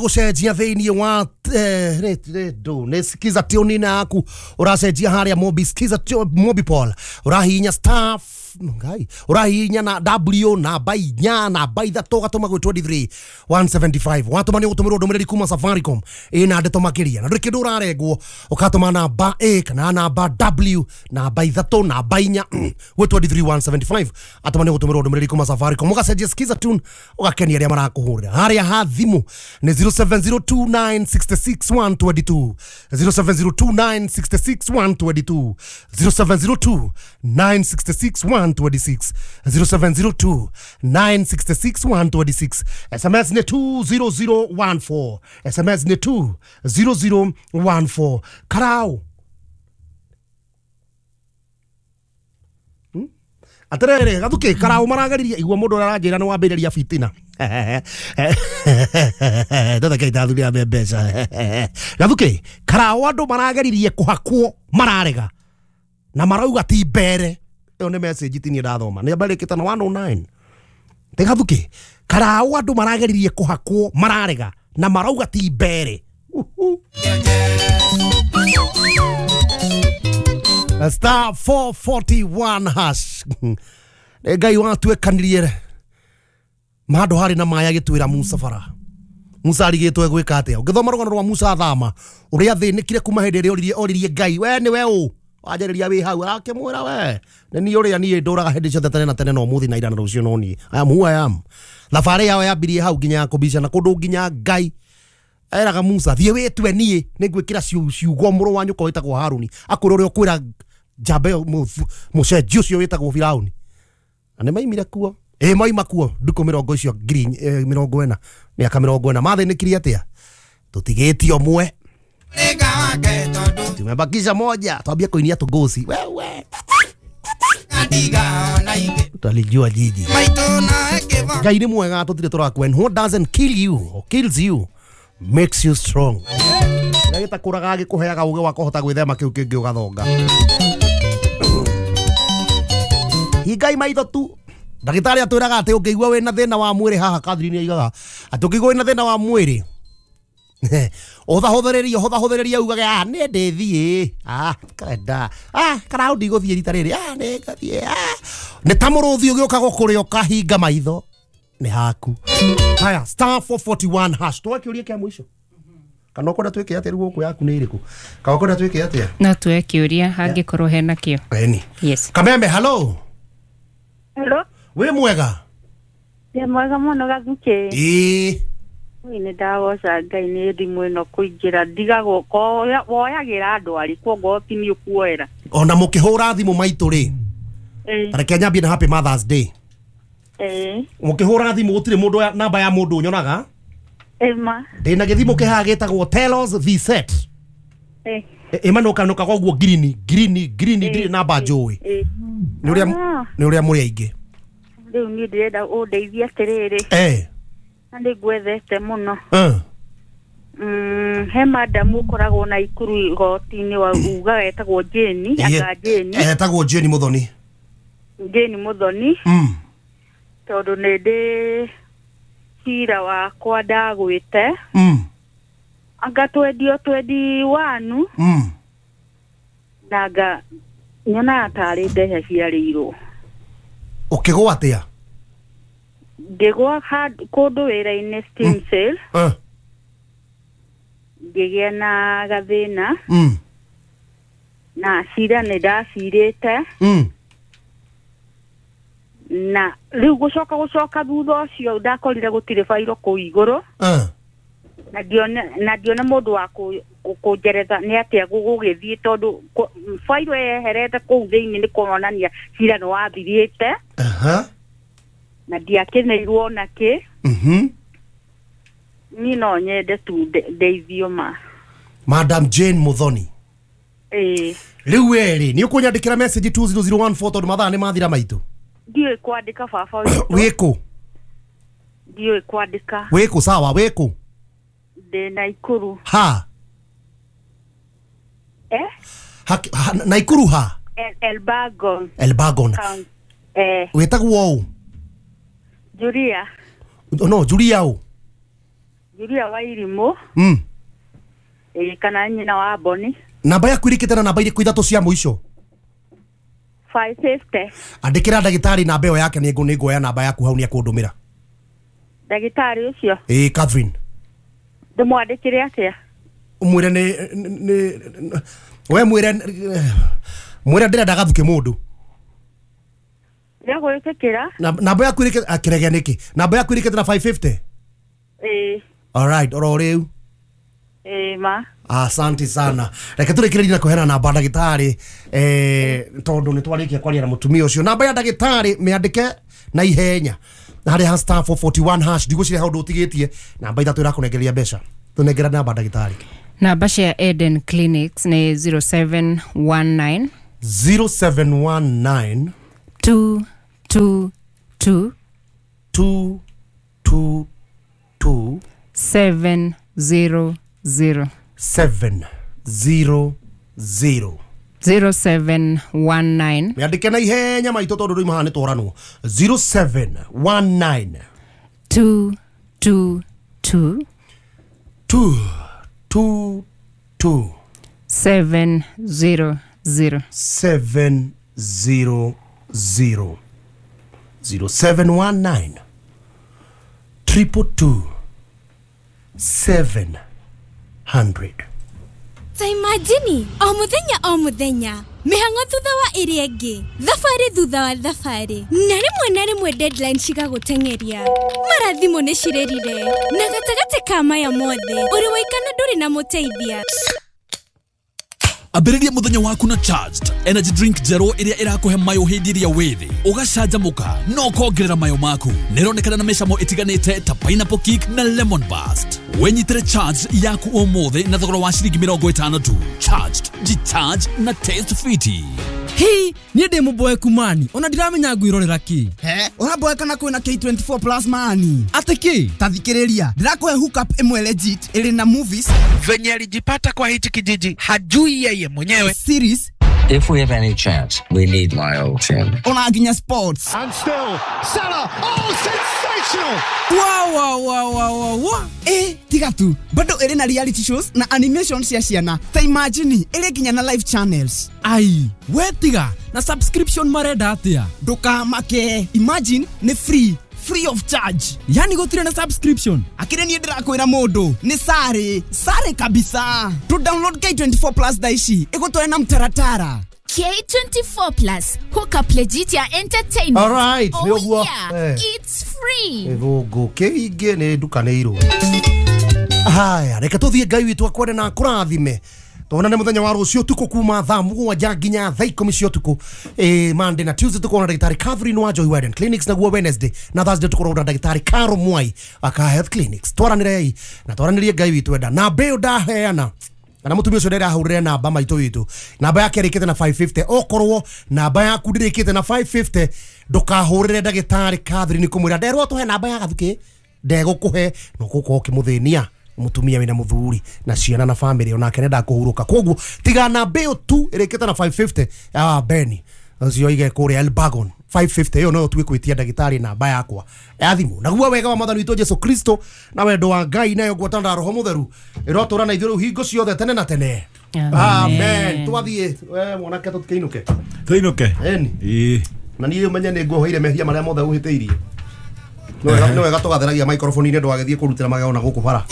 Gucenjia thiini wa ndu ni skiza tune yaku uracenjia haria Mobi skiza Mobi Paul urahinya star ngai urahinya na W namba inya namba ithatũ ũgatũma gwĩ 23 175 watũma nĩ ũgũtũmĩrwo ndũmĩrĩri kuma Safaricom ĩna ndeto makĩria na ndũrĩ kĩndũ ũrarengwo ũgatũma namba A kana namba W namba ithatũ namba inya gwĩ 23 175 atũma nĩ ũgũtũmĩrwo ndũmĩrĩri kuma Safaricom ũgacenjia skiza tune ũgakenia arĩa marakũhũrĩra harĩa ha thimũ nĩ 0702966122 0702966122 0702966126 0702966126 SMS ni 20014 SMS ni 20014 Karau aterere gathuke Karau marageririe igua mundu aranjira ni wambiriria fitina ndotheke itathuria mbeca gathuke Karau andu marageririe kuhakwo mararega na marauga ti mbere iyo ni message ti ni ndathoma ni mbarikite na 109 te gathuke Karau andu marageririe kuhakwo mararega na marauga ti mbere. Star 441 hash ngai watuĩkanirie handũ harĩ na maĩ agĩtuĩra Musa bara. Musa arigĩtwo egwĩka atĩa? Ũngĩthoma rũgano rwa Musa athama ũrĩa athĩnĩkire kuma hĩndĩ ĩrĩa oririe Ngai we nĩwe ũ wanjarĩria wĩ hau arakĩmwĩra we nĩ niĩ ũrĩa niĩ ndũraga hĩndĩ ciothe tene na tene na ũmũthĩ na ira na rũciũ no niĩ I am who I am. Thabarĩ yao yambirie hau nginya ya kũbicana kũndũ nginya Ngai eraga Musa thiĩ wĩtue niĩ nĩngwĩkĩra ciugo mũrũ wa nyũkwa wĩtagwo Haruni akwĩra ũrĩa ũkwĩra njamba ĩyo mũcenji ũcio wĩtagwo Firauni na nĩ maimire kuo ĩ maima kuo ndukũ mĩrongo icio ngiri mĩrongo ĩna mĩaka mĩrongo ĩna mathĩnĩkire atĩa tũtigĩtie ũmwe tumebakisha moja twambie kũinia tũngũci wewe twalijua jiji Ngai nĩ mwega tũtirĩ tũrakua. And what doesn't kill you or kills you makes you strong. Kĩrĩa gĩtakũraga gĩkũheaga ũgĩ wa kũhota gwĩthema kĩu kĩngĩ ũgathonga. Hingai maitho tu. Ndagĩtarĩ atwĩraga atĩ ũngĩigua wĩna thĩna wa mwĩrĩ haha Catherine aigaga atĩ ũngĩigua wĩna thĩna wa mwĩrĩ ũhũthahũthĩrĩrie ũhũthahũthĩrĩrie ugage ah nĩ ndĩthiĩ ah karenda ah Karau ndigũthiĩ rita rĩrĩ ah nĩ ngathiĩ ah nĩ ta mũrũthi ũgĩũka gũkũrĩa ũkahinga maitho nĩ haku. Haya star 441 hash twa kĩũria kĩa mũico kana ũkwenda twĩke atĩa rĩu gũkũ yaku nĩ ĩrĩkũ kana ũkwenda twĩke atĩa no tuoe kĩũria hangĩkorwo hena kĩo. Eni yes. Kameme hello. Hello. Wĩ mwega? Ndĩ mwega mũno Gathuke. Ĩĩ nĩ ndagoca Ngai nĩ thimũ ĩno kũingĩra ndigagwo woyagĩra andũ arĩkũ ongorwo ti niĩ ũkuoera ona mũkĩhũra thimũ maitũ rĩ tareke nyambie na happy Mother's Day. Mũkĩhũra thimũ gũtirĩ mũndũ namba ya mũndũ nyonaga ĩma ndĩna gĩthimũ kĩhaha gĩtagwo Telos V-Set ĩmanũkanũkaga ũguo ngirini ngirini ngirini ndirĩ namba njũĩ nĩ ũrĩa mũrĩ aingĩ rĩu niĩ ndĩrenda ũndeithie atĩrĩrĩ na nĩ ngwethete mũno. He madamu ũkoragwo na Ikuru igoti-inĩ wa ugaga etagwo Jane anga Jane etagwo Jane Muthoni Jane Muthoni tondũ nĩ ndĩ cira wakwa ndagwĩte anga twendio 21 na anga nyonaga tarĩ mbeca ciarĩirwo. Ũkĩgũa atĩa? Ngĩgũa kũndũ wĩra-inĩ steam sale ngĩgĩa na gathĩna na cira nĩ ndacirĩte na rĩu gũcoka thutha ũcio ndakorire gũtirĩ bairo kũu igũrũ na ndione mũndũ wa kũnjeretha nĩ atĩa gũgũgĩthiĩ tondũ bairo yeherete kũu thĩinĩ nĩ kuonania cira nĩ wathirĩte na ndiakeneirwo ona kĩ. Niĩ no nyende tu ndeithio ma Madam Jane Muthoni. Ĩĩ rĩu we rĩ nĩ ũkũnyandĩkĩra message 20014 tondũ mathaa nĩ mathira maitũ. Ndiũĩ kwandĩka baba witũ. Wĩkũ? Ndiũĩ kwandĩka. Wĩkũ sawa wĩkũ? Ndĩ Naikuru. Ha? Ha, Naikuru ha? Elbagon. Elbagon. Wĩtagwo ũ? Julia. No, Julia ũ? Julia Wairimu. Kana nyina wa Boni. Namba yaku irikite na namba iriku ithatu cia muico? 550. Andikira ndagitari namba ĩyo yake nĩ nguoya namba yaku hau nĩ akũndũmĩra. Ndagitari ucio? Ĩĩ, Catherine. Ndĩmwandĩkĩre atĩa? Umwĩre nĩ we mwĩre mwĩre ndĩrenda gathuke mũndũ. Ndĩgwĩtĩkĩra. Namba yaku irikite akĩrege nĩkĩ? Namba yaku irikite na 550? Ĩĩ. All right, oro rĩu. Ĩĩ ma. Asante sana. Reke tũrĩkĩrĩrie na kũheana namba ndagĩtarĩ tondũ nĩ twarĩkia kwaria na mũtumia ũcio. Namba ya ndagĩtarĩ mĩandĩke na ihenya harĩ ha star 441 hash ndigũciria hau ndũtigĩtie namba ithatũ ĩrakũnengeria mbeca. Tũnengera namba ndagĩtarĩ. Namba cia Eden Clinics nĩ 0719 0719 222 222 700 700 0719 Miandike na ihenya maitũ tondũ rĩu maha nĩ twaranwo. 0719 222 222 700 700 0719 222 700. Ta imagine o muthenya mĩhang'o thutha wa ĩrĩa ĩngĩ, thabarĩ thutha wa thabarĩ, na rĩmwe deadline cigagũteng'eria, mara thimũ nĩ cirĩrire, na gatagatĩ ka maya mothe ũrĩ waikana ndũrĩ na mũteithia. Ambĩrĩria mũthenya waku na Charged energy drink njerũ ĩrĩa ĩrakũhe mayo hĩndĩ ĩrĩa wĩ thĩ, ũgacanjamũka na ũkongerera mayo maku. Nĩĩronekana na mĩcamo ĩtiganĩte ta pineapple kick na lemon burst. Wĩnyitĩre Charged yaku ũmũthĩ na thogora wa ciringi 50 tu. Charged, jicharge na taste fiti. Hii, niĩ ndĩ mũboeku mani, ona ndiramenya ngwĩrorera kĩ. He, ũraboeka na kwĩna K24 plus mani. Atĩ kĩ? Ta thikĩrĩria, ndĩrakũhe hookup ĩmwe legit ĩrĩ na movies. Venye alijipata kwa hichi kijiji hajui yeye mwenyewe. Series. If we have any chance, we need my old team. Ona nginya sports. And still, Salah, oh, sensational! Wow, wow, wow, wow, wow. Tiga tu, bado ĩrĩ na reality shows na animation cia ciana. Ta imagine, ĩrĩ nginya na live channels. Ai, we tiga, na subscription marenda atia? Ndũkamake, imagine nĩ free. Free of charge. Yani gũtirĩ na subscription. Akĩrĩ niĩ ndĩrakwĩra mũndũ nĩ sare, sare kabisa. To download K24 plus thaa ici ĩgũtware na mtaratara. K24 plus hookup legit ya entertainment. All right, oh yeah, it's free. Gũngũ kĩingĩ nĩ ndukanĩirwo. Haya, reke tũthiĩ Ngai witũ akwende na akũrathime. Tuonane muthenya wa rũciũ ũtukũ kuma thaa 7 nginya thaa 10 cia ũtukũ. Monday na Tuesday tukorwo na ndagĩtarĩ Catherine wa Joy Warden Clinics, naguo Wednesday na Thursday tukorwo na ndagĩtarĩ Caro Mwai aka Health Clinics. Twaranĩrei na twaranĩrie Ngai witũ enda. Namba ĩyo ndaheana kana mũtumia ũcio ndĩrahũrĩre namba maitũ witũ, namba yake ĩrĩkĩte na 550. Okorwo namba yaku ndĩrĩkĩte na 550 ndũkahũrĩre ndagĩtarĩ Catherine kũmwĩra nderwo tũhe namba ya gathukĩ, ndegũkũhe no gũkorwo ũkĩmũthĩnia mutumia wina muthuri na ciana na family onake nenda kuhuruka. Koguo tiga namba ĩyo tu ĩrĩkĩte na 550 ya Beni ũcio ige kũrĩa Elbagon 550 ĩyo no tuĩ kwĩtia ndagĩtarĩ namba yakwa ya thimũ. Naguo wega wa Mwathani witũ Jesu Kristo na wendo wa Ngai nayo ngwatanĩro ya Roho Mũtheru ĩrotũra na ithuĩ rĩu hingo ciothe tene na tene. Amen. Twathiĩ we mwanake tũtikĩinũke. Tũinũke. Ĩni. Ĩĩ. Na niĩ ũmenye nĩ nguoheire mehia marĩa mothe ũhĩtĩirie. No wega tũgatheragia microphone-inĩ ndũgagĩthiĩ kũrutĩra magego na gũkũ bara.